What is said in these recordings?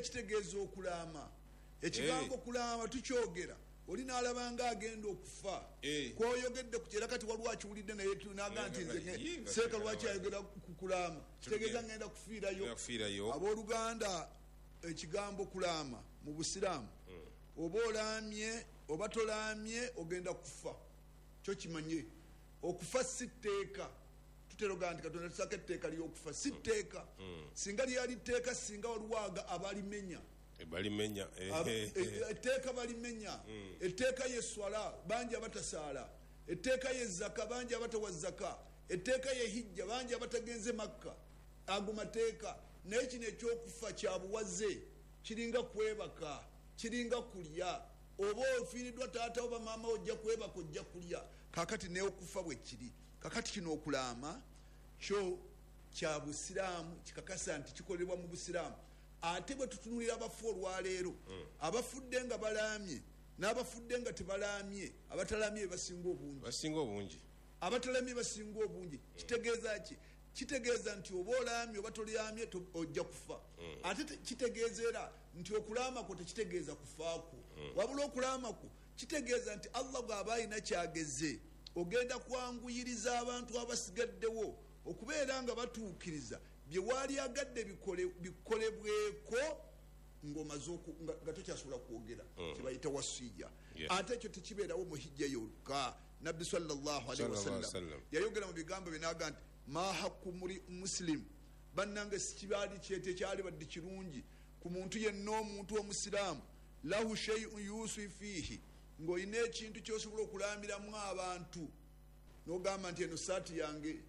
Hijja kitegeeza okulaama. Ekigambo kulaama tukyogera oli n'alaba nga agenda okufa. Kwoyogedde ku era kati waliwo akiwulidde naye naga nti nze seeka lwaki ayogera ku kulaama, kitegeeza ngenda kufiirayo. Abooluganda, ekigambo kulaama mu Busiraamu, oba olaamye oba tolaamye ogenda kufa, kyo kimanye. Okufa si tteeka. Tutera ogamba nti Katonda tusako etteeka ly'okufa, si tteeka. Singa lyali tteeka, singa waliwo abalimenya. Balimenya. Etteeka balimenya. Etteeka ye swala, bangi abatasaala. Etteeka ye zaka, bangi abatawa zaka. Etteeka ye hijja, bangi abatagenze Makka. Ago mateeka. Naye kino ekyokufa kya buwaze, kiringa kwebaka, kiringa kulya. Oba ofiiriddwa taata oba maama, ojja kwebaka, ojja kulya. Kakati neokufa bwe kiri. Kakati kino okulaama kyo kya Busiraamu, kikakasa nti kikolebwa mu Busiraamu. Ate bwe tutunulira abafu olwaleero, abafudde nga balaamye n'abafudde nga tebalaamye, abatalaamye basinga obungi. Basinga obungi. Abatalamye basinga obungi. Kitegeeza ki? Kitegeeza nti oba olaamye oba tolyamye ojja kufa. Ate kitegeeza era nti okulaama kwo tekitegeeza kufaakwo, wabula okulaama kwo kitegeeza nti Allah bw'aba alina kyageze, ogenda kwanguyiriza abantu abasigaddewo okubeera nga batuukiriza bye waalyagadde bikolebweko ng'omaze nga tokyasobola kwogera, kyebayita wasiya. Ate ekyo tekibeerawo mu hijja yokka. Nabbi sallallahu alaihi wasallam yayogera mu bigambo bye n'agamba nti ma haqqu muri muslim, bannange sikibaali kyetekyali badde kirungi ku muntu yenna, omuntu omusiraamu, lahu shay'un yusi fiihi, ng'olina ekintu kyosobola okulamiramu abantu n'ogamba nti eno saati yange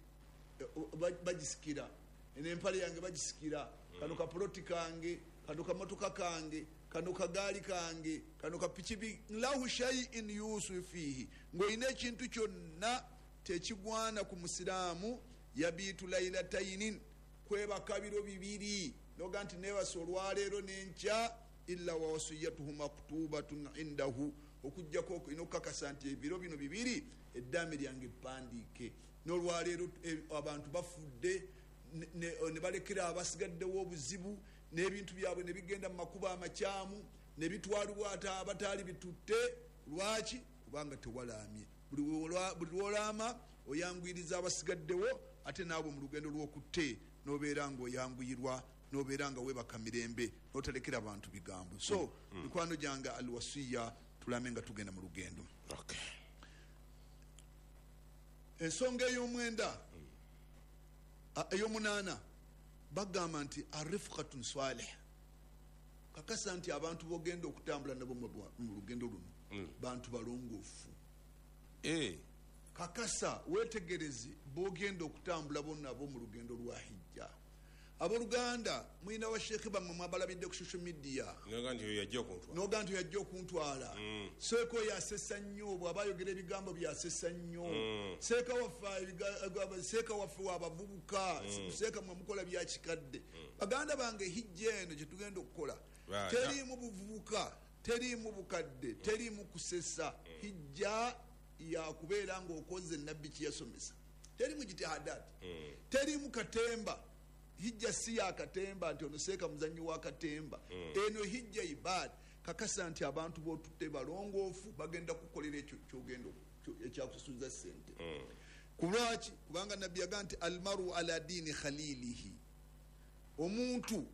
bagisikira, eno empale yange bagisikira, kano kapuloti kange, kano kamotoka kange, kano kagaali kange, kano kapikipi. Lahu shay'in yusi fiihi, ng'olina ekintu kyonna tekigwana ku musiraamu yabiitu lailatainin, kwebaka biro bibiri, noga nti nebasa olwaleero n'enkya, illa wa wasiyatuhu maktubatun indahu, okujjako olina okukakasa nti ebiro bino bibiri eddaame lyange pandiike. N'olwaleero abantu bafudde ne balekera abasigaddewo obuzibu, n'ebintu byabwe ne bigenda mu makubo amakyamu, ne bitwalibwa ate abataali bitutte. Lwaki? Kubanga tewalaamye. Buli lwolaama oyanguyiriza abasigaddewo, ate naawe mu lugendo lw'okutte n'obeera ng'oyanguyirwa, n'obeera nga weebaka mirembe, n'otalekera bantu bigambo. So mikwano gyange, alwasiya, tulame nga tugenda mu lugendo. Ensonga ey'omwenda, ey'omunaana, bagamba nti arifqatun salih, kakasa nti abantu bogenda okutambula nabo mu lugendo luno bantu balongoofu. Kakasa wetegereze bogenda okutambula nabo mu lugendo lwa hijja. Abooluganda, mulina basheekhe bammwe mwabalabidde ku social media, noga nti oyo yajja okuntwala, noga nti yajja okuntwala. Seeka oyo asesa nnyo, bw'aba ayogera ebigambo byasesa nnyo. Seeka waffe, seeka waffe wabavubuka, seeka mwe mukola byakikadde. Baganda bange, hijja eno kyetugenda okukola teriimu buvubuka, teriimu bukadde, teriimu kusesa. Hijja yakubeera ng'okoze nabbi kiyasomesa, teriimu jitihadati, teriimu katemba. Hijja si ya katemba nti ono seeka muzanyi wa katemba. Eno hijja ibada. Kakasa nti abantu botutte balongoofu, bagenda kukolera ekyo kyogenda ekyakusuza sente. Kulwaki? Kubanga nabbi yaga nti almaru ala diini khalilihi, omuntu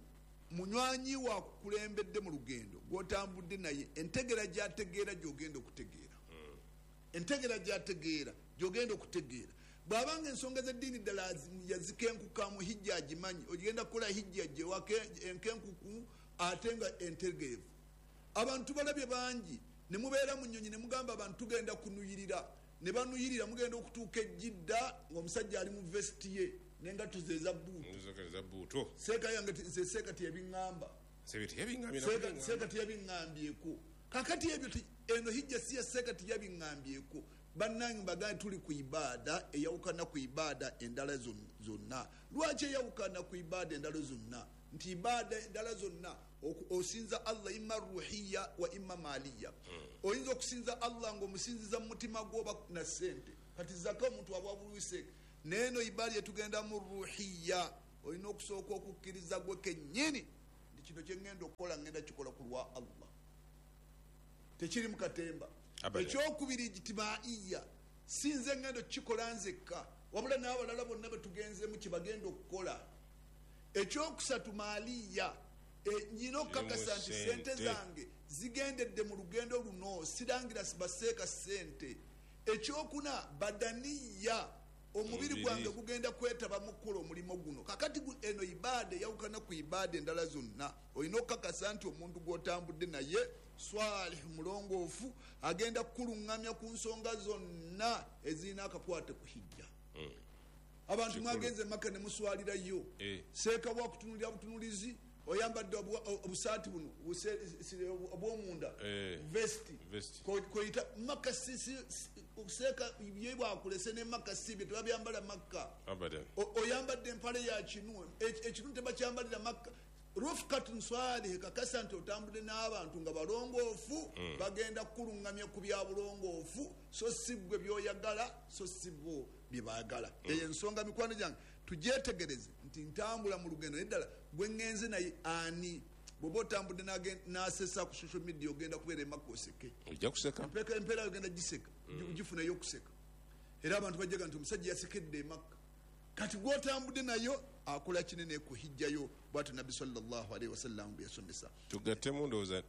munywanyi wakukulembedde mu lugendo gwotambudde naye, entegera gyategeera gyogenda okutegeera, entegera gyategeera gyogenda okutegeera. Bw'abanga ensonga z'eddiini ddala yazikenkukamu, hijja agimanyi, ogenda kukola hijja gyewaka enkenkuku ate nga entegeevu. Abantu balabye bangi ne mubeera mu nnyonyi ne mugamba abantu tugenda kunuyirira, ne banuyirira, mugenda okutuuka ejjidda ng'omusajja ali mu vesiti ye n'engatto ze eza buutu. Seeka yange nze seeka teyabiŋŋamba, seeka teyabiŋŋambyeko. Kakati ebyo eno hijja si ya seeka teyabiŋŋambyeko. Bannange, mbagambye tuli ku ibaada eyawukana ku ibaada endala zonna. Lwaki eyawukana ku ibaada endala zonna? Nti ibaada endala zonna osinza Allah imma ruhiya wa imma maliya. Oyinza okusinza Allah ng'omusinziza mu mutima gwo oba na ssente. Kati zaka omuntu aba bulwise. Neeno ibaada yetugenda mu ruhiya, olina okusooka okukkiriza gwe kennyini nti Kino kyengenda okukola ngenda kikola ku lwa Allah, tekiri mukatemba. Ekyokubiri, ijtimaiya, si nze ngenda okukikola nzekka, wabula n'abalala bonna betugenzeemu kyebagenda okukola. Ekyokusatu, maaliya, nyina okukakasa nti sente zange zigendedde mu lugendo luno, sirangira baseeka sente. Ekyokuna, badaniya, omubiri gwange gugenda kwetaba mu kukola omulimu guno. Kakati eno ibaada eyawukana ku ibaada endala zonna. Olina okukakasa nti omuntu gw'otambudde naye swalih, mulongoofu, agenda kukuluŋŋamya ku nsonga zonna ezirina akakwate ku hijja. Abantu mwagenze Maka ne muswalirayo, seeka bwakutunulira butunulizi, oyambadde obusaati buno obwomunda, vesti, koyita Maka seeka ye bwakulese ne Maka sibye tebabyambala Makka. Oyambadde empale ya kinu, ekinu tebakyambalira Makka. Rufkatun swalih, kakasa nti otambudde n'abantu nga balongoofu, bagenda kukuluŋŋamya ku bya bulongoofu, so si ggwe byoyagala, so si bo bye baagala. Eyo ensonga, mikwano gyange, tugyetegereze nti ntambula mu lugendo, naye ddala gwe ŋŋenze naye ani? Bw'oba otambudde n'asesa ku social media, ogenda kubeera Emakka oseke. Ojja kuseka. Empeera ogenda giseka, gifunayo okuseka, era abantu bajjaga nti omusajja yasekedde Emakka. Kati gwotambudde nayo akola kinene ku hijjayo. Bwatyo Nabbi sallallahu alaihi wasallam bwe yasomesa. Tugattemu, ndowooza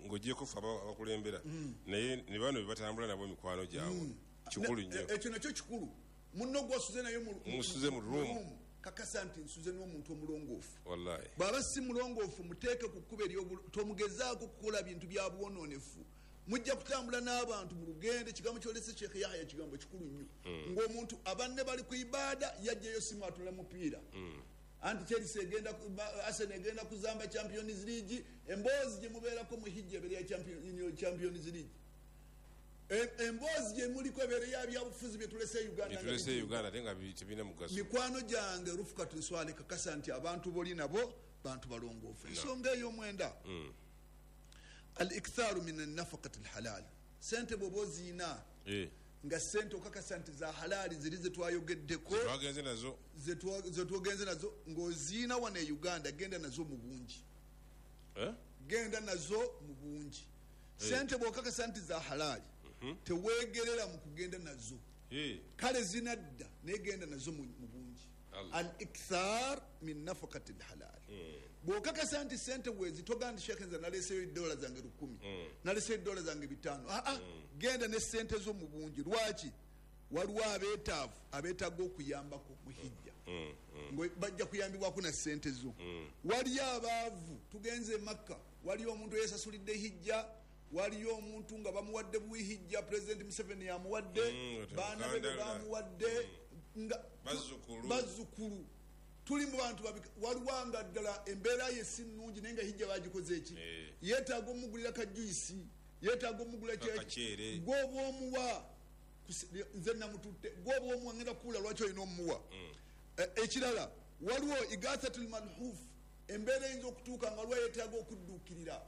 ng'ogyeko fe abakulembera, naye ne bano be batambula nabo, mikwano gyabwe, kikulu nnyo. Ekyo nakyo kikulu. Munno gwasuze naye musuze mu room, kakasa nti nsuze n'omuntu omulongoofu. Wallahi. Bw'aba si mulongoofu, muteeke ku kkubo tomugezaako kukola bintu bya bwonoonefu. Mujja kutambula n'abantu mu lugendo. Ekigambo kyolese Sheekh Yahya kigambo kikulu nnyo, ng'omuntu abanne bali ku ibaada, yajjayo simu atula mupiira, anti Chelsea egenda, Arsenal egenda kuzamba Champions League. Emboozi gye mubeerako mu hijja ebeera ya Champions League, emboozi gye muliko ebeera ya byabufuzi byetulese Uganda. Tulese Uganda ate nga tebirina mugaso. Mikwano gyange, rufukatu swale, kakasa nti abantu boli nabo bantu balongoofu. Ensonga ey'omwenda, al iktharu min annafaqati alhalal. Sente bwoba oziina, nga sente okakasa nti za halali, ziri zetwayogeddeko, twagenze nazo, zetwogenze nazo, ng'oziina wano e Uganda, genda nazo mu bungi. Genda nazo mu bungi. Sente bwokakasa nti za halali, tewegerera mu kugenda nazo. Kale zinadda, naye genda nazo mu bungi. Al ikthar min nafakati lhalal. Bwokakasa nti sente wezi, togamba nti shekhe, nze naleseyo edola zange 1000, naleseyo edola zange 500. Aa, genda ne sente zo mu bungi. Lwaki? Waliwo abeetaavu abeetaaga okuyambako mu hijja, bajja kuyambibwako na sente zo. Waliyo abaavu, tugenze Makka, waliyo omuntu eyesasulidde hijja, waliyo omuntu nga bamuwadde buhijja, President Museveni yamuwadde, baana be bamuwadde, nga bazzukulu. Tuli mu bantu, waliwo nga ddala embeera ye si nnungi, naye nga hijja bagikoze eki, yeetaaga omugulira kajuyisi, yeetaaga omugulira gwoba omuwa. Nze namututte, gwoba omuwa ngenda kuwula lwaki olina omuwa. Ekirala, waliwo igathatul malhuf, embeera eyinza okutuuka nga lwa yeetaaga okudduukirira.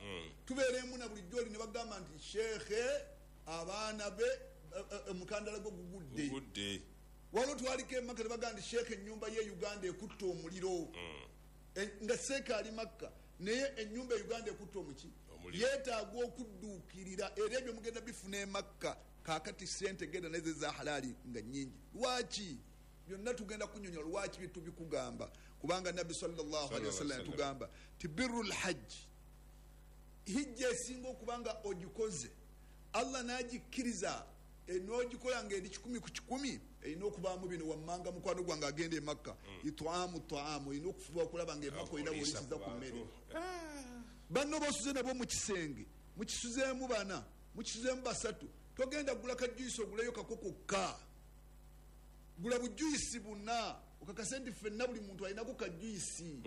Tubeeremu na bulijjo oli ne bagamba nti sheekhe abaana be omukandala gwe gugudde. Waliwo twaliko Emakka ne bagamba nti sheekhe ennyumba ye Uganda ekutta omuliro, nga seeka ali Makka, naye ennyumba e Uganda ekutta omuki, yeetaaga okudduukirira. Era ebyo mugenda bifuna Emakka. Kakati sente genda neze za halali nga nyingi. Lwaki byonna tugenda kunyonya? Lwaki byetubikugamba? Kubanga Nabbi sallallahu alaihi wasallam tugamba ti birru lhajji, hijja esinga okubanga ogikoze Allah nagikkiriza n'ogikola nga eri 100%, erina okubaamu bino wammanga. Mukwano gwange agenda Emakka, itwamu taamu, olina okufuba okulaba nga Emakka olina bwolisiza ku mmere. Banno bosuze nabo mu kisenge, mukisuzeemu bana, mukisuzeemu basatu, togenda gula kajuyisi oguleyo kako kokka, gula bujuyisi buna, okakase nti ffenna buli muntu alinako kajuyisi.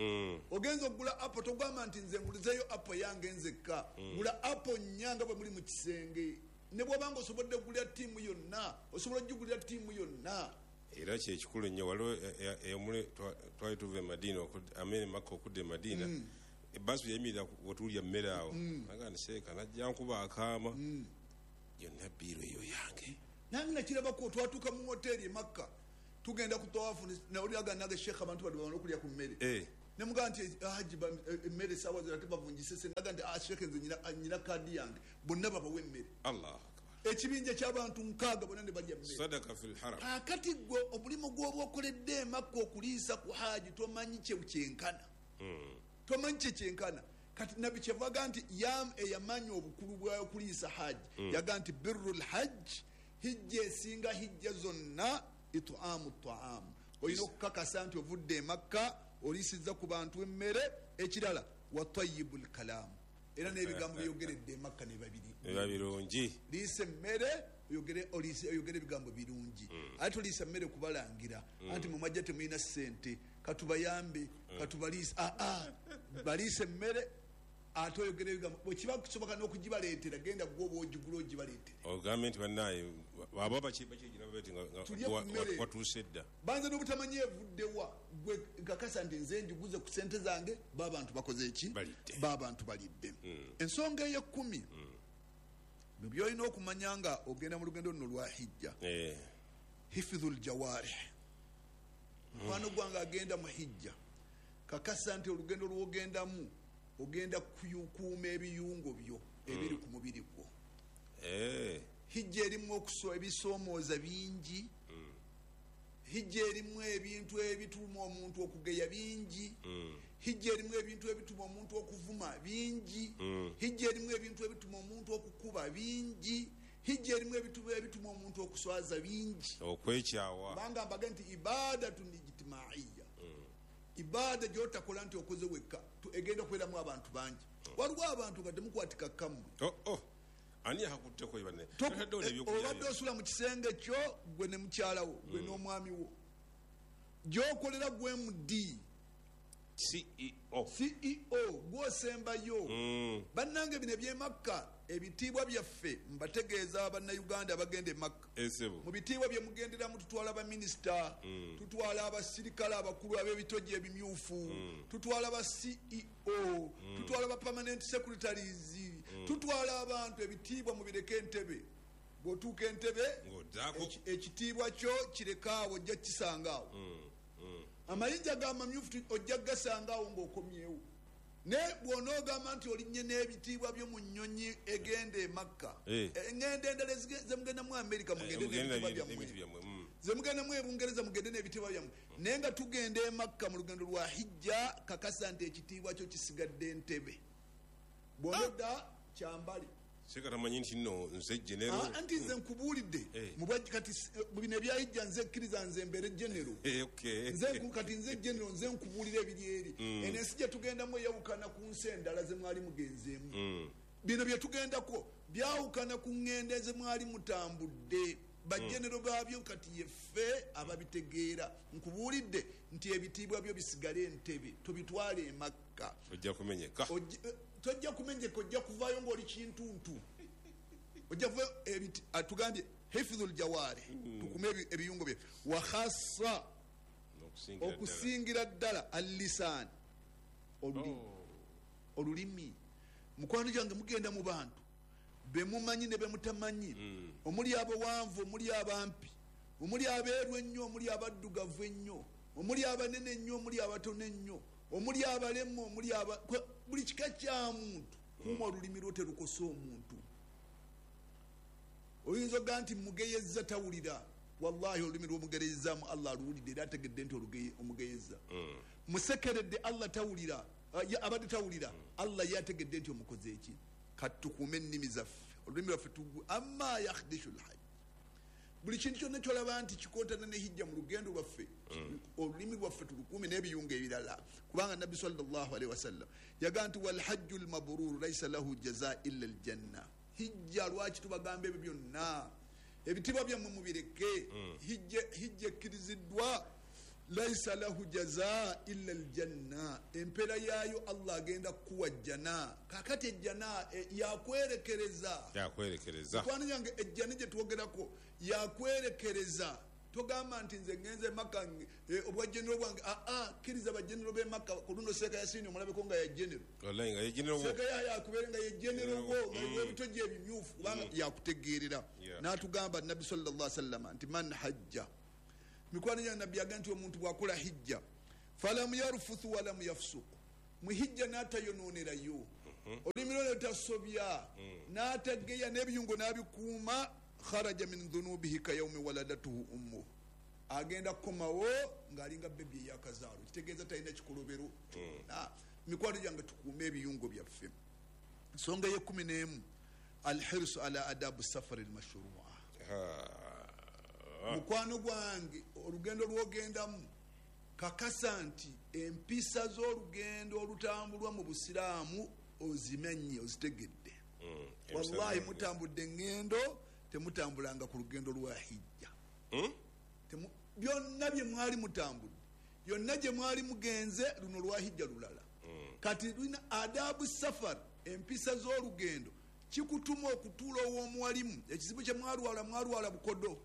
Ogenza okugula apo, togamba nti nze ngulizeyo apo yange nzekka. Gula apo nnya nga bwe muli mu kisenge. Ne bwobanga osobodde okugulira ttiimu yonna, osobola okugigulira ttiimu yonna. Era kyekikulu nnyo. Waliwo twali tuva e Madiina, amene Makka okudda e Madiina, ebbaasi yayimirira wetulya mmere awo, aga nseeka najja nkuba akaama, yonna biiro eyo yange. Nange nakirabako, twatuuka mu hoteeri e Makka, tugenda ku tawafu, nawuliraga nange, sheekh, abantu bano bamala okulya ku mmere. Nemugaa nti haji emmere saawa zonna tebavunjise sente. Naga nti sheekhe nze nyina kaadi yange, bonna babawe emmere. Allahu akbar. Ekibinja ky'abantu 6 bonna ne balya mmere. Sadaka fil haram. Kaakati gwe omulimu gw'oba okoledde emakka okuliisa ku haji tomanyi kye kyenkana. Tomanyi kye kyenkana. Kati nabbi kyevaga nti eyamanya obukulu bw'okuliisa haji yaga nti birrul hajj, hijja esinga hijja zonna itaamu taamu. Olina okukakasa nti ovudde emakka oliisizza ku bantu emmere. Ekirala wa tayyibul kalaamu, era n'ebigambo byogeredde emakka ne babiri biba birungi. Liisa emmere oyogere ebigambo birungi. Ate toliisa mmere kubalangira anti mwe mwajja temulina ssente, katubayambe, katubaliise. Baliise emmere ate oyogere ebigambo. Bwe kiba kusoboka n'okugibaleetera, genda gwe oba ogigula ogibaleetere. Ogambe nti bannaye aba bakyegira bati nga Tulye ku mmere. watuuse dda. Banza n'obutamanyi evuddewa, gwe nkakasa nti nze njiguze ku ssente zange, b'abantu bakoze eki? Balidde. B'abantu balidde. Ensonga ey'ekkumi mu by'olina okumanya nga ogenda mu lugendo luno lwa hijja, hifidhul jawarih. Mukwano gwange agenda mu hijja, kakasa nti olugendo lw'ogendamu ogenda kukuuma ebiyungo byo ebiri ku mubiri gwo. Hijja erimu ebisoomooza bingi. Hijja erimu ebintu ebituma omuntu okugeya bingi. Hijja erimu ebintu ebituma omuntu okuvuma bingi. Hijja erimu ebintu ebituma omuntu okukuba bingi. Hijja erimu ebintu ebituma omuntu okuswaza bingi. Okwekyawa. Kubanga mbaga nti ibadatun ijtimaiya, ibaada gyotakola nti okoze wekka, egenda kubeeramu abantu bangi. Waliwo abantu nga temukwatika kammwe. Ani akakutteko banne? Obadde osula mu kisenge kyo gwe ne mukyalawo, gwe n'omwami wo, gyokolera gwe MD, CEO, CEO gwosembayo. Bannange bino ebyemakka, ebitiibwa byaffe mbategeeza bannayuganda abagenda e Makka. Mu bitiibwa bye mugenderamu tutwala baminisita, tutwala abasirikale abakulu ab'ebitogi ebimyufu, tutwala ba CEO, tutwala ba permanent secretaries, tutwala abantu. Ebitiibwa mubireke entebe. Bw'otuuka entebe, ekitiibwa kyo kirekaawo, ojja kisangaawo. Amayinja g'amamyufu ojja gasangaawo ng'okomyewo. Naye bw'onoogamba nti olinnye n'ebitiibwa byo mu nnyonyi egenda e Makka, eŋŋendo endala zemugenda mu Amerika mugende n'ebitiibwa byammwe, zemugenda mu Ebungereza mugende n'ebitiibwa byammwe, naye nga tugenda e Makka mu lugendo lwa hijja, kakasa nti ekitiibwa kyo kisigadde entebe. Bw'onodda kyambale. Seka tamanyi nti nno nze genero. Anti nze nkubuulidde kati mu bino ebya hijja nze kkiriza nze mbeere genero. Nze kati nze genero, nze nkubuulira ebiri eri. Eno ensi gye tugendamu eyawukana ku nsi endala ze mwali mugenzeemu. Bino bye tugendako byawukana ku ŋŋendo ze mwali mutambudde. Bagenero baabyo kati yeffe ababitegeera. Nkubuulidde nti ebitiibwa byo bisigale entebe, tobitwale e Makka. Ojja kumenyeka. Tojja kumenyeka, ojja kuvaayo ng'oli kintuntu. Ojja kuva atugambye hifdhul jawari, tukume ebiyungo bye. Wa khassa, okusingira ddala al-lisan, olulimi. Mukwano gyange mugenda mu bantu bemumanyi ne bemutamanyi, omuli abawanvu, omuli abampi, omuli abeeru ennyo, omuli abaddugavu ennyo, omuli abanene ennyo, omuli abatono ennyo, omuli abalemu, omuli buli kika kya muntu. Kuuma olulimi lwo terukosa omuntu. Oyinza ogamba nti mugeyezza tawulira. Wallahi olulimi lw'omugerezzaamu Allah aluwulidde era ategedde nti omugeyezza. Musekeredde Allah tawulira, abadde tawulira, Allah ye ategedde nti omukoze eki. Kati tukuume ennimi zaffe, olulimi lwaffe amma yakhdishu lhajj. Buli kintu kyonna kyolaba nti kikontana ne hijja mu lugendo lwaffe, olulimi lwaffe tulukuume n'ebiyungo ebirala. Kubanga Nabbi sallallahu alaihi wasallam yagamba nti wal hajju lmabruru laisa lahu jaza illa aljanna. Hijja lwaki tubagamba ebyo byonna? Ebitiibwa byammwe mubireke. Hijja ekkiriziddwa, laisa lahu jaza illa aljanna. Empeera yaayo Allah agenda kukuwa jjana. Kaakati ejjana yakwerekereza. Mukwano gyange ejjana gye twogerako yakwerekereza. Togamba nti nze ngenze Makka obwa genero bwange. Kkiriza bagenero b'e Makka. Ku luno Seeka Yasini omulabeko nga ya genero. Wallahi nga ye genero wo. Seeka Yahya akubeere nga ye genero wo, nga ebitogi ebimyufu, kubanga yakutegeerera. N'atugamba Nabbi sallallahu alaihi wasallam nti man hajja. Mikwano gya Nabbi yagamba nti omuntu bw'akola hijja Falam yarfuthu walam yafsuku, muhijja n'atayononerayo, olulimi lwe lutasobya, n'atageya, n'ebiyungo n'abikuuma. Kharaja min dhunubihi kayaumi waladatuhu ummuhu, agenda kukomawo ng'alinga bebi eyakazaalo, kitegeeza talina kikolobero kyonna. Mikwano gyange, tukuume ebiyungo byaffe. Ensonga ye-11, alhirsu ala adabu safari lmashrua. Mukwano gwange, olugendo lwogendamu, kakasa nti empisa z'olugendo olutambulwa mu busiraamu ozimenye, ozitegedde. Wallahi, mutambudde eŋŋendo, temutambulanga ku lugendo lwa hijja. Byonna bye mwali mutambudde, yonna gye mwali mugenze, luno lwa hijja lulala. Kati lulina adabu safar, empisa z'olugendo. Kikutuma okutuula ow'omuwalimu. Ekizibu kye mwalwala, mwalwala bukodo.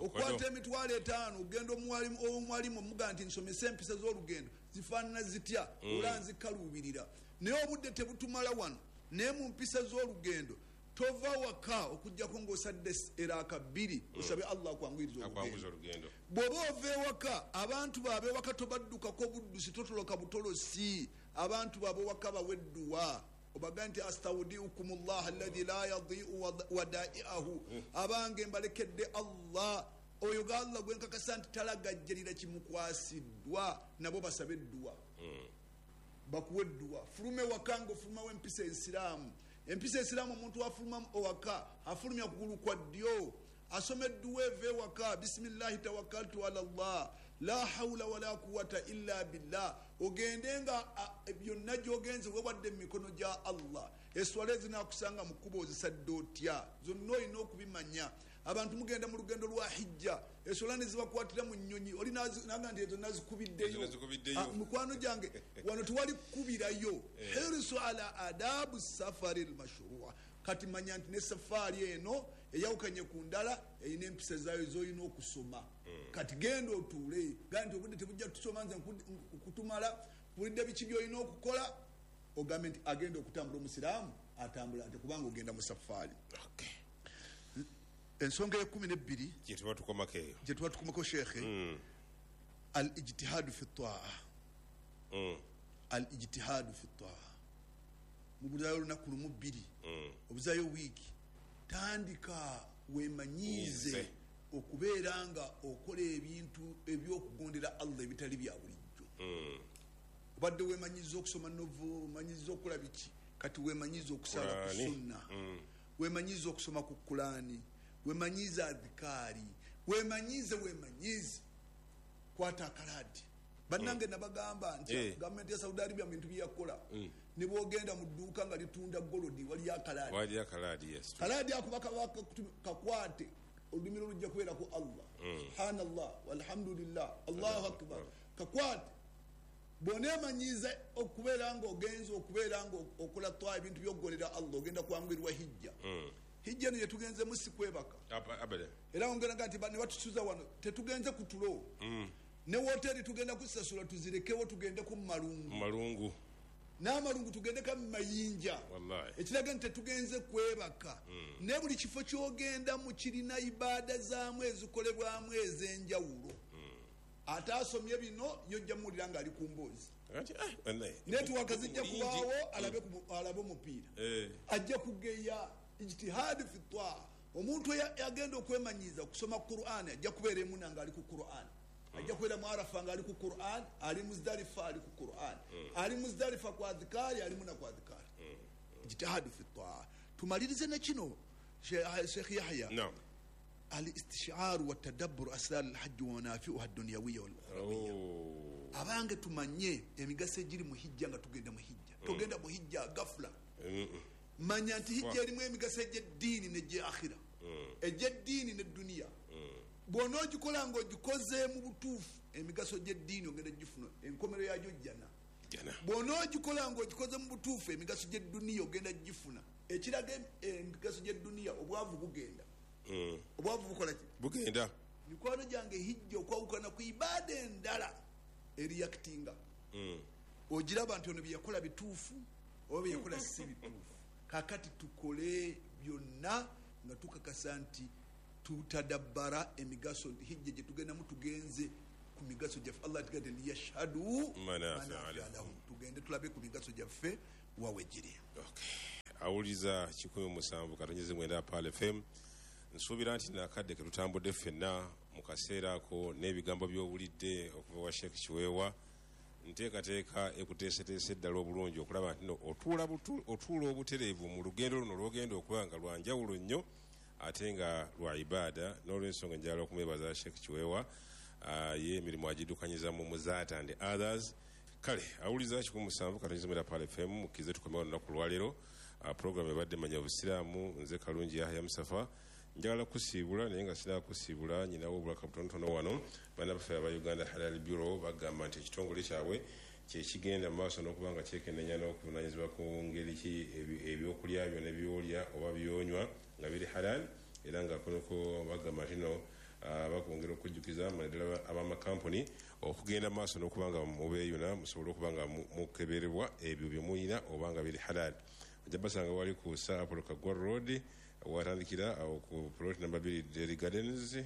Okwata 50,000 ogenda ow'omuwalimu, omugaa nti nsomese empisa z'olugendo zifaanana zitya, ola nzikaluubirira, naye obudde tebutumala wano. Naye mu mpisa z'olugendo, tova waka okugjako ng'osadde eraaka bbiri, osabe Allah akwanguyiriza olugendo. Bw'oba ova ewaka, abantu baabewaka tobaddukako buddusi, totoloka butolosi. Abantu baabewaka bawedduwa, obaga nti astaudiukum llah alladhi la yadiu wadaiahu, abange mbalekedde Allah, oyo ga Allah gwenkakasa nti talagajjalira kimukwasiddwa. Nabo basabe edduwa, bakuwa edduwa. Fulume waka nga ofulumawo empisa ensiraamu. Empisa ensiraamu, omuntu afuluma owaka afulumya kugulu kwa ddyo, asoma edduwa eva ewaka: bisimillahi tawakkaltu ala llah, la haula wala quwata illa billah. Ogende nga byonna gyogenze wewadde mu mikono gya Allah. Eswala ezinakusanga mu kkuba ozisadde otya, zonna olina okubimanya. Abantu mugenda mu lugendo lwa hijja, eswala nezibakwatira mu nnyonyi, oli naga nti ezo nazikubiddeyo. Mikwano gyange, wano tewali kukubirayo. Hirsu ala adabu safari lmashrua. Kati manya nti ne safaari eno eyawukanye ku ndala, erina empisa zaayo zolina okusoma. Kati genda otuule gaa nti obudde tebujja tusoma, nze kutumala bulidde biki byolina okukola. Ogambe nti agenda okutambula, omusiraamu atambula nti kubanga ogenda mu safaari. Ensonga ye-12 gyetuba tukomako eyo, gyetuba tukomako, shekhe, al ijtihadu fi taa. Al ijtihadu fi taa, mubuzayo olunaku lumu, bbiri, obuzayo wiiki, tandika wemanyiize okubeera nga okola ebintu ebyokugondera Allah ebitali bya bulijjo. Obadde wemanyiza okusoma novel, omanyiza okukola biki, kati wemanyiza okusala ku sunna, wemanyiza okusoma ku Kulani, wemanyize adhikaari, wemanyize, wemanyize. Kwata akalaadi. Bannange, nabagamba nti gavumenti ya Saudi Arabia mu bintu byeyakola, ne bwogenda mu dduuka nga litunda golodi, waliyo akalaadi. Kalaadi akuba kakwate, olulimi lujja kubeerako Allah, subhanallah, walhamdulillah, allahu akbar. Kakwate. Bwoneemanyiza okubeera nga ogenza okubeera nga okola twa ebintu byokugolera Allah, ogenda kwanguyirwa hijja. Hijja eno yetugenzemu si kwebaka. Era ongenaga nti ne batusuza wano, tetugenze ku tulo. Ne woteri tugenda kusasula tuzirekewo, tugende ku malungu. Malungu. N'amalungu tugendeka mu mayinja, ekiraga nti tetugenze kwebaka. Naye buli kifo kyogendamu kirina ibaada zaamu ezikolebwamu ez'enjawulo. Ate asomye bino, yojja muwulira ng'ali ku mboozi. Netiwaka zijja kubaawo, alabe omupiira, ajja kugeya. Ijtihaadi fi taa. Omuntu agenda okwemanyiza okusoma Quran ajja kubeera emuna nga ali ku Quran, ajja kubeera mu Arafa nga ali ku Quran, ali Muzdalifa ali ku Quran, ali Muzdalifa ku adhikaari, ali muna ku adhikaari. Ijtihaadi fi taa. Tumalirize nekino, Sheikh Yahya: alistishaaru watadabburu asrar alhajji wamanafiuha ddunyawiya walukhrawiya. Abange, tumanye emigaso egiri mu hijja nga tugenda mu hijja. Togenda mu hijja gafula. Manya nti hijja erimu emigaso egyeddiini negye akhira, egyeddiini neduniya. Bwona ogikola nga ogikoze mu butuufu, emigaso gyeddiini ogenda gifuna, enkomero yagyo jjana. Bwona ogikola nga ogikoze mu butuufu, emigaso gyeduniya ogenda gifuna. Ekiraga emigaso gyeduniya, obwavu bugenda. Obwavu bukola ki? Bugenda. Mikwano gyange, hijja okwawukana ku ibaada endala eriyakitinga, ogiraba nti ono byeyakola bituufu oba byeyakola si bituufu. Kakati tukole byonna nga tukakasa nti tutadabbara emigaso nti hijja gyetugendamu tugenze. Ku migaso gyaffe. Allah tigade liyashhadu Manafia manafia lahum. Tugende tulabe ku migaso gyaffe wawe giri. Awuliza 107.9 Pearl FM. Nsuubira nti nakadde ke tutambudde ffenna mu kaseera ako n'ebigambo by'owulidde okuva wa Sheikh Kiweewa, nteekateeka ekuteeseteese ddala obulungi okulaba nti no otuula obutereevu mu lugendo luno lw'ogenda okuba nga lwa njawulo nnyo ate nga lwa ibaada. N'olwensonga njagala okumwebaza Sheikh Kiweewa, ye emirimu agiddukanyiza mu Muzaata and others. Kale awuliza 107.9 Pearl FM, mukkirize tukomewo olunaku lwaleero. Program ebadde Manya Obusiraamu, nze Kalungi Yahya Musafa. Njagala kusiibula naye nga sinakusiibula nyinawo obulaka butonotono wano. Bana baffe aba Uganda Halal Bureau bagamba nti ekitongole kyabwe kyekigenda mu maaso n'okuba nga kyekenneenya n'okuvunaanyizibwa ku ngeri ki ebyokulya byo ne byolya oba byonywa nga biri halal, era nga kunoko bagamba nti no, bakwongera okujjukiza naddala ab'amakampuni okugenda mu maaso n'okuba nga mubeeyuna musobole okuba nga mukeberebwa ebyo bye muyina oba nga biri halal. Ojja basanga wali ku Sir Apollo Kaggwa Road, watandikira awo ku plot number 2 Dairy Gardens.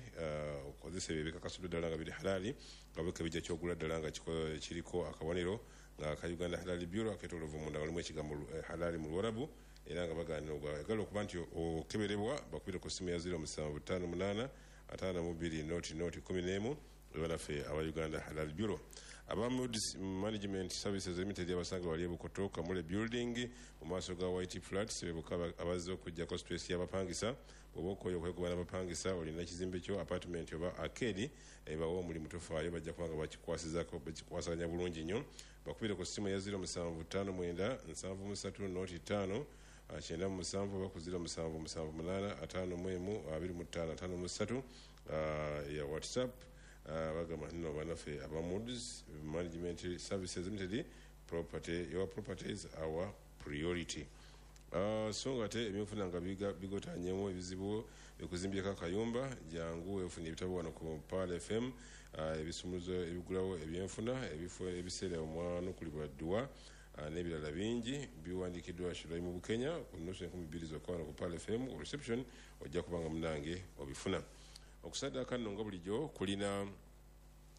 Okozesa ebyo ebikakasuddwa ddala nga biri halali, nga bwekebejja kyogula ddala nga kiriko akabonero nga ka Uganda Halal Bureau aketooloovu munda walimu ekigambo halali mu Luwarabu, era nga bagaanira ogwagala okuba nti okeberebwa bakubire ku ssimu ya 0758 52 00 11. Banaffe aba Uganda Halal Bureau. Aba Moody's Management Services Limited abasanga wali e Bukoto, Kamule Building, mu maaso ga White Flats, bebuka abazze okuggyako stress y'abapangisa. Bw'oba okooye okwekuba n'abapangisa, olina ekizimbe kyo, apartment oba arcade, bawe omulimu, tofaayo, bajja kuba nga bakikwasaganya bulungi nnyo. Bakubire ku ssimu ya 0759 73 05 97 oba ku 0778 51 25 53, ya WhatsApp. Bagamba nno bannaffe aba Moody's Management Services Limited, property, your properties our priority. So nga ate ebyenfuna nga bigotanyemu ebizibu bikuzimbyeko akayumba, jangu weefunye ebitabo wano ku Pearl FM, ebisumuluzo ebigulawo ebyenfuna, ebifo ebiseera omwanukulibwa dduwa, n'ebirala bingi biwandiikiddwa Shiraimu Bukenya ku nusu 2000 zokka wano ku Pearl FM reception, ojja kubanga munange obifuna. Okusaddaaka nno nga bulijjo kulina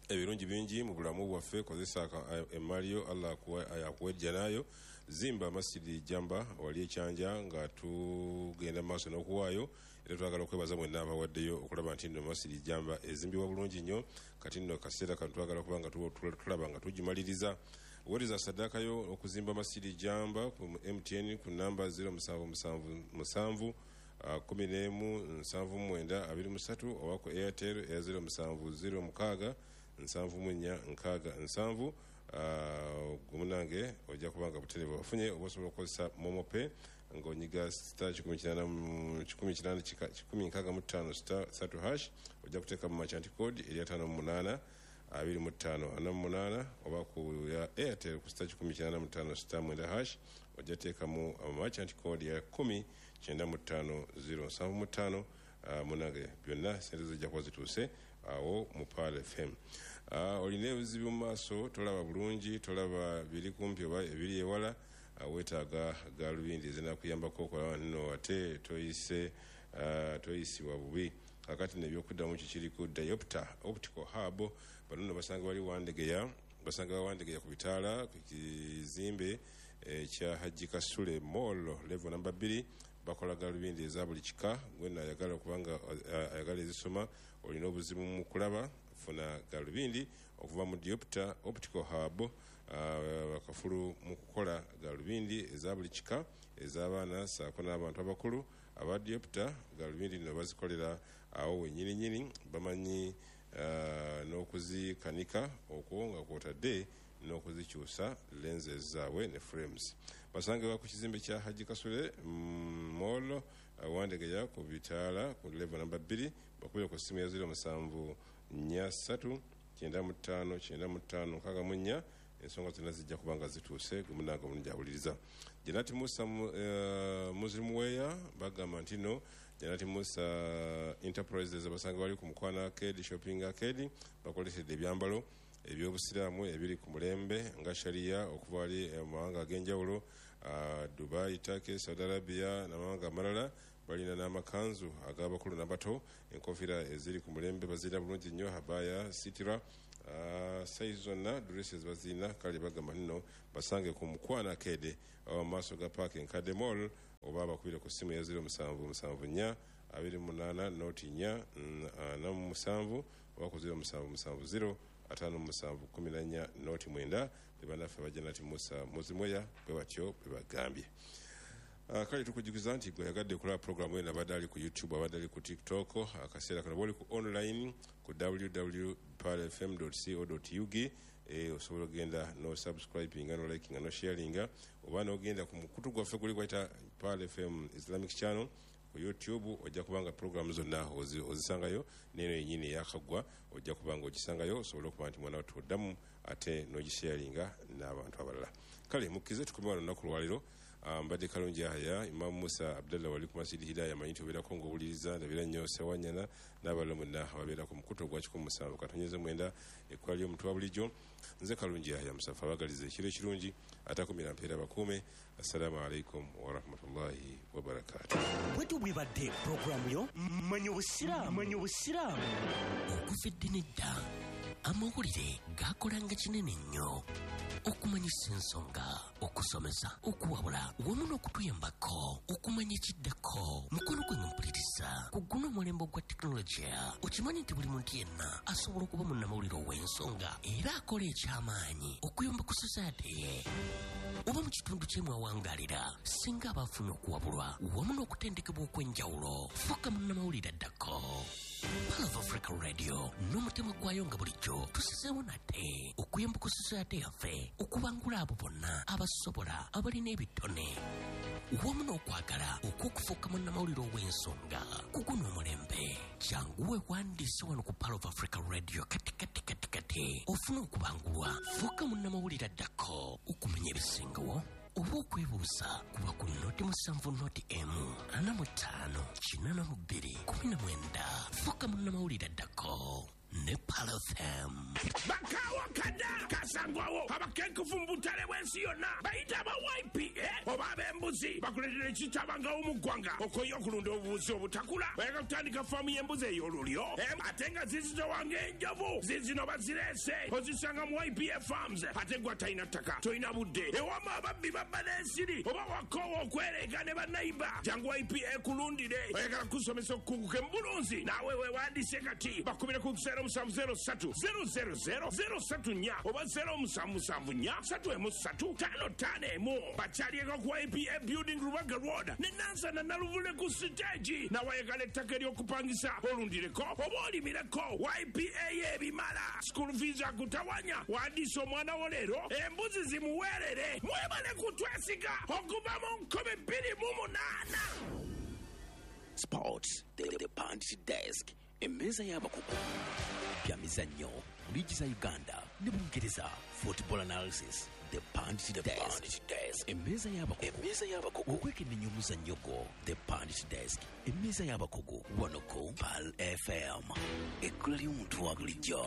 ebirungi bingi mu bulamu bwaffe. Kozesa emmali yo, Allah akuwa ejjanayo. Zimba Masjidi Jamba wali ekyanja nga tugenda mu maaso n'okuwaayo, era twagala okwebaza mwenna abawaddeyo okulaba nti nno Masjidi Jamba ezimbibwa bulungi nnyo. Kati nno kaseera kano twagala kuba nga tulaba nga tugimaliriza. Weereza saddaaka yo okuzimba Masjidi Jamba ku MTN ku namba 0777 11 79 23 oba ku Airtel eya 0706 74 67. Gumunange ojja kuba nga butereevu ofunye, oba osobola okukozesa MoMo Pay ng'onyiga star 108 165 star 3 hash, ojja kuteeka mu merchant code eri 58 25 48, oba ku ya Airtel ku star 185 star 9 hash, ojja teekamu merchant code ya 10 95 0 75. Munange byonna sente zijja kuba zituuse awo mu Pearl FM. Olina ebizibu mu maaso, tolaba bulungi, tolaba biri kumpi oba ebiri ewala, weetaaga galubindi ezinakuyambako okulaba nno ate toyisibwa bubi. Kakati nebyokuddamu kikiri ku Diopter Optical Hub. Bano nno basanga wali Wandegeya, basanga Wandegeya ku bitaala ku kizimbe ekya Hajji Kasule Mall level number 2. Bakola galubindi eza buli kika. Gwenna ayagala okubanga ayagala ezisoma, olina obuzibu mu kulaba, funa galubindi okuva mu Diopter Optical Hub. Bakafulu mu kukola galubindi eza buli kika ez'abaana ssaako n'abantu abakulu. Aba Diopter galubindi nno bazikolera awo wennyini nnyini, bamanyi n'okuzikanika okwo nga kwotadde n'okuzikyusa lenses zaabwe ne frames. Basangibwa ku kizimbe kya Hajji Kasule Mall, Wandegeya ku bitaala ku level number 2. Bakubire ku ssimu ya 07 43 95 95 64, ensonga zonna zijja kuba nga zituuse. Gumunange omulungi awuliriza Janati Musa Muslim Wear, bagamba nti no Janati Musa Enterprises abasanga bali ku Mukwano Arcade Shopping Arcade, bakolesedde ebyambalo ebyobusiraamu ebiri ku mulembe nga sharia okuva wali mu mawanga ag'enjawulo, Dubai, Turkey, Saudi Arabia n'amawanga amalala. Balina n'amakanzu ag'abakulu n'abato, enkofiira eziri ku mulembe bazirina bulungi nnyo, habaya, sitira, sayizi zonna, dresses bazirina. Kale bagamba nno basange ku Mukwana Arcade mu maaso ga paaka enkadde mall, oba bakubire ku ssimu ya 0774 28 04 47 oba ku 0770 57 14 09. Bebannaffe bajja nati Musa Muzimweya bwe batyo bwe bagambye. Kale tukujjukiza nti gwe yagadde okulaba programu eno abadde ali ku YouTube, abadde ali ku TikTok, akaseera kano bwoli ku online ku www palfm co ug, osobola ogenda no subscribinga, no likinga, no sharinga, oba nogenda ku mukutu gwaffe guli gwayita Pal FM Islamic Channel ku YouTube, ojja kubanga programu zonna ozisangayo, neno yenyini eyakaggwa ojja kubanga ogisangayo, osobole okuba nti mwana wattu oddamu ate n'ogisharinga n'abantu abalala. Kale mukkize tukome wano olunaku lwaleero. Mbadde Kalungi Yahaya, Imamu Musa Abdallah wali ku Masjid Hidaya, manyi nti obeerako ng'owuliriza, ndabira nnyo Sewanyana n'abalala mwenna ababeera ku mukutu ogwa 107.9, ekkola ly'omuntu wa bulijjo. Nze Kalungi Yahaya Musafa, abagaliza ekiro ekirungi, atakumira mpeera bakuume. Assalamu alaikum warahmatullahi wabarakatuh. Bwetyo bwebadde puroguramu yo Manya Obusiraamu. Manya Obusiraamu. Okuva edda n'edda amawulire gakolanga kinene nnyo okumanyisa ensonga, okusomesa, okuwabula wamu n'okutuyambako okumanya ekiddako. Mukono gwange mpuliriza, ku guno omulembe ogwa tekinologiya, okimanyi nti buli muntu yenna asobola okuba munnamawulire ow'ensonga era akola ekyamaanyi okuyamba ku society ye oba mu kitundu kye mwawangalira, singa aba afunye okuwabulwa wamu n'okutendekebwa okw'enjawulo. Fuuka munnamawulire addako. Pearl of Africa Radio n'omutima gwayo nga bulijjo tusizeewo nate okuyamba ku society yaffe okubangula abo bonna abasobola, abalina ebitone wamu n'okwagala okw'okufuuka munnamawulire ow'ensonga ku guno omulembe. Jangu weewandiise wano ku Pearl of Africa Radio kati kati kati kati ofune okubangulwa. Fuuka munnamawulire addako. Okumanya ebisingawo oba okwebuuza, kuba ku 070 145 82 19. Fuuka munnamawulire addako ne Pearl FM. Bakawo kada kasangwawo abakenkufu mu butale bw'ensi yonna bayita aba YPA oba ab'embuzi bakuleetera ekitabangawo mu ggwanga okoye okulunda obubuzi obutakula. Bayagala kutandika faamu y'embuzi ey'olulyo, ate nga zizitowanga enjovu zizino bazireese, ozisanga mu YPA Farms. Ate gwe atalina ttaka, tolina budde, ewama ababbi babba n'ensiri oba wakoowa okwereega ne bannayiba, jangu YPA kulundire. Oyagala kusomesa okukunguka mu bulunzi, naawe weewandise kati, bakubire ku 0703 000 034 oba 0774 313 51. Bakyalieko ku YPA Building, Rubaga Road ne Nansana Naluvule ku siteegi. Nawayagala ettaka ery'okupangisa olundireko oba olimireko, YPA y'ebimala. School fees akutawanya, wandiisa omwana wo leero embuzi zimuweerere. Mwebale kutwesiga okuva mu 2008. Sports, the Pundit Desk, emmeeza y'abakugu, bya mizannyo, liigi za Uganda ne Bungereza, football analysis, the Pundit Desk, emmeeza y'abakugu, okwekennenya omuzannyo gwo, the Pundit Desk, emmeeza y'abakugu, wano ku Pal FM, ekkula ly'omuntu wa bulijjo.